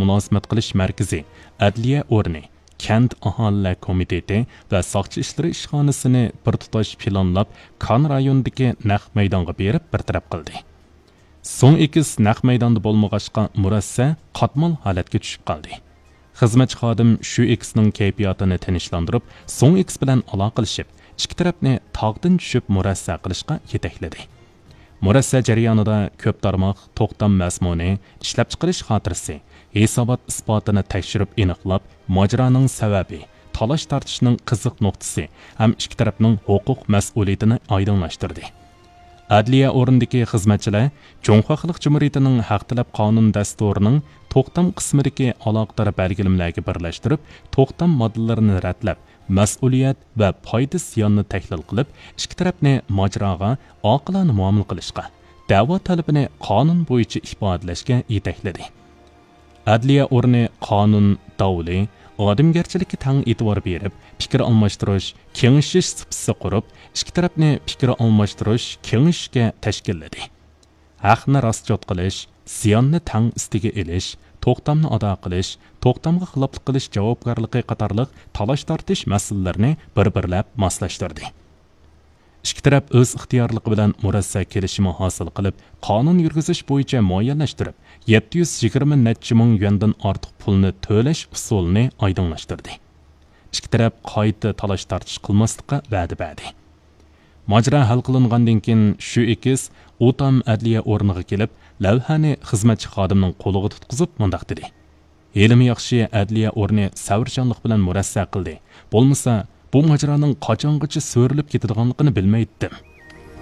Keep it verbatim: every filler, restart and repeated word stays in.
مۇلازىمەت قىلىش مەركىزى، ئەدلىيە ئورنى، كەنت ئاھالىلەر كومىتېتى ۋە ساقچى ئىشلىرى ئىشخانىسىنى بىر تۇتاش پىلانلاپ، كان رايونىدىكى نەق مەيدانغا بېرىپ بىر تەرەپ قىلدى. سوڭ ئېكىس نەق مەيداندا بولمىغاچقا، مۇرەسسە قاتمال ھالەتكە چۈشۈپ قالدى. خىزمەتچى خادىم شۈ ئېكىسنىڭ كەيپىياتىنى تىنچلاندۇرۇپ، سوڭ ئېكىس بىلەن ئالاقىلىشىپ، ئىككى تەرەپنى تاغدىن چۈشۈپ مۇرەسسە قىلىشقا يېتەكلىدى. مۇرەسسە جەريانىدا كۆپ تارماق توختام مەزمۇنى، ئىشلەپچىقىرىش خاتىرىسى، ھېسابات ئىسپاتىنى تەكشۈرۈپ ئېنىقلاپ، ماجىرانىڭ سەۋەبى، تالاش-تارتىشنىڭ قىزىق نۇقتىسى ھەم ئىككى تەرەپنىڭ ھوقۇق مەسئۇلىيىتىنى ئايدىڭلاشتۇردى. ئەدلىيە ئورنىدىكى خىزمەتچىلەر جۇڭخۇا خەلق جۇمھۇرىيىتىنىڭ ھەق تەلەپ قانۇن دەستۇرىنىڭ توختام قىسمىدىكى ئالاقىدار بەلگىلىمىلەرگە بىرلەشتۈرۈپ، توختام ماددىلىرىنى رەتلەپ، مەسئۇلىيەت ۋە پايدا زىياننى تەھلىل قىلىپ، ئىككى تەرەپنى ماجىراغا ئاقىلانە مۇئامىلە قىلىشقا، دەۋا تەلىپىنى قانۇن بويىچە ئىپادىلەشكە يېتەكلىدى. ئەدلىيە ئورنى قانۇن، داۋلى، ئادەمگەرچىلىككە تەڭ ئېتىبار بېرىپ، پىكىر ئالماشتۇرۇش، كېڭىشىش سۇپىسى قۇرۇپ، ئىككى تەرەپنى پىكىر ئالماشتۇرۇش، كېڭىشىشكە تەشكىللىدى. ھەقنى راسچوت قىلىش، زىياننى تەڭ ئۈستىگە ئېلىش، توختامنى ئادا قىلىش، توختامغا خىلاپلىق قىلىش جاۋابكارلىقى قاتارلىق تالاش-تارتىش مەسىلىلىرىنى بىر-بىرلەپ ماسلاشتۇردى. ئىككى تەرەپ ئۆز ئىختىيارلىقى بىلەن مۇرەسسە كېلىشىمى ھاسىل قىلىپ، قانۇن يۈرگۈزۈش بويىچە مۇئەييەنلەشتۈرۈپ، يەتتە يۈز يىگىرمە نەچچە مىڭ يۈەندىن ئارتۇق پۇلنى تۆلەش ئۇسۇلىنى ئايدىڭلاشتۇردى. ئىككى تەرەپ قايتا تالاش-تارتىش قىلماسلىققا ۋەدە بەردى. ماجىرا ھەل قىلىنغاندىن كېيىن، شۈ ئېكىس ئۇتام ئەدلىيە ئورنىغا كېلىپ، لەۋھەنى خىزمەتچى خادىمنىڭ قولىغا تۇتقۇزۇپ مۇنداق دېدى: «ھېلىمۇ ياخشى ئەدلىيە ئورنى سەۋرچانلىق بىلەن مۇرەسسە قىلدى. بولمىسا، بۇ ماجىرانىڭ قاچانغىچە سۆرىلىپ كېتىدىغانلىقىنى بىلمەيتتىم.»